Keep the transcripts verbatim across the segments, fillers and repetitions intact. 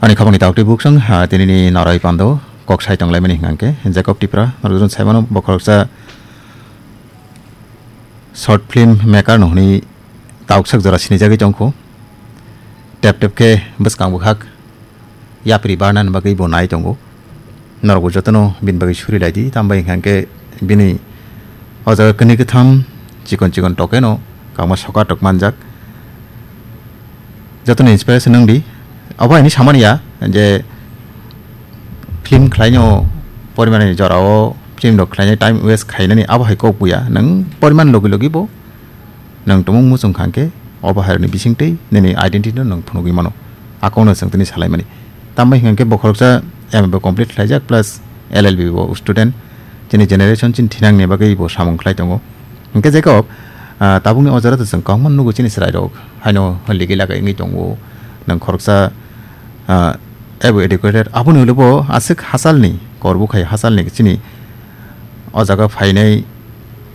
Ani khobangni taktwi buksong, ha, tinini noroi pando kok sai tonglaimani hwnkhe Jacob Tipra, norok jwn saimano bokhoroksa short film maker no hwnwi tauksak jora sinijagwi tongkho. Tep tep khe bwskang bwkhak yapri barnani bagwi bo nai tongo. Norokbo jotono bini bagwi suri laidi, tambai hwnkhe bini o jaga kwnwi kwtham chikon chikon tokeno kangma soka tok manjak. Jotono inspiration wng di. Obo haini samani ya je film khlaino porimanani jorao film rok khlainai time waste khainani abo hai kok buya. Nwng poriman logi logi bo nwng tumung muchung kha hwnkhe obo hai rokni bisingtwi nini identity no nwng phunugwi mano. Akokno chwng tini salaimani. Tambai hwnkhe bokhoroksa M A bo complete khlaijak plus L L B bo student. Chini generation chini thinangni bagwi bo samung khlai tongo. Hwnkhe Jacob, ah, tabukni o jora to chwng kwbangma nugo chini chwrairok haino ligi lagai wngwi tongo. Nwng khoroksa, ah, abo educated, aboni ulo bo aswk hachalni, korbo khai hachalni chini o jaga phainai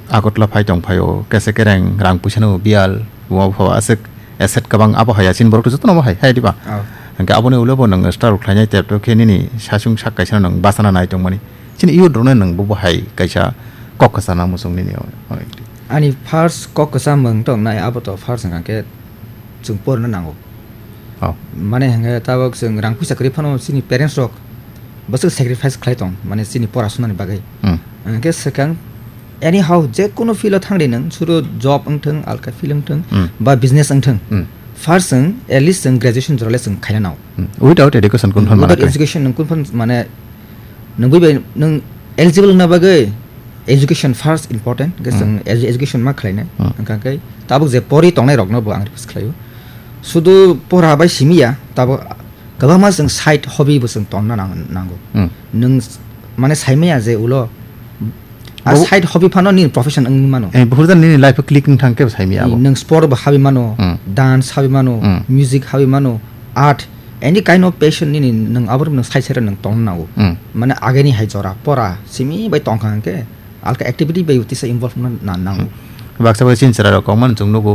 Agartala phai tong phaio, kese kereng rang puisano biyal, bo pho aswk asset kwbang abo hai ya chini borok to jotono bo hai, hai diba? Oh. Hwnkhe aboni ulo bo nwng start khlainai tep tep khe nini sasung sak kaisa nwng bachana nai tongmani. Chini youth rokno nwng bo bo hai kaisa kok kwchana muchung nini o-, o-, Ani first kok kwcham wng tong nai, abo to first hwnkha khe chwng porna nango. Oh. Mane hwnkhe tabok chwng rang puisa kwrwi phano chini parents rok bwswk sacrifice khlai tong, mane chini pora sunani bagwi. Hmm. Hwnkhe swkang anyhow je kono field o thang di nwng, suru job wng thung, alka field wng thung, Hmm. ba business wng thung. Hmm. First chwng at least chwng graduation jorale chwng khaina nao. Hmm. Without education kun phan Without mana khe. education nwng kun phan mane nwng bui bai nwng eligible wngna bagwi education first important, hwnkhe Hmm. chwng edu-, education ma khlainai. Hmm. Hwnkha khe tabuk je pori tongnai rokno bo ang request khlaio. Sudu pora bai simi ya, tabuk kwbangma chwng side hobby bo chwng tonna nang-, nango. Hmm. Nwng s-, mane saimaya je ulo a Bo- side hobby phano nini profession wngwi mano. Eh, buphur jan nini life o click wng thang khe bo saimaya abo. Nwng sport bo habi mano, Hmm. dance habi mano, Hmm. music habi mano, art, any kind of passion nini nwng abo nwng side side nwng tongna nango. Hmm. Mane ageni hai jora pora simi bai tongkha hwnkhe alka activity bai tisa involve wngna na-, nango. Hmm. Baksa bai chini chwrairok kok mano chwng nugo.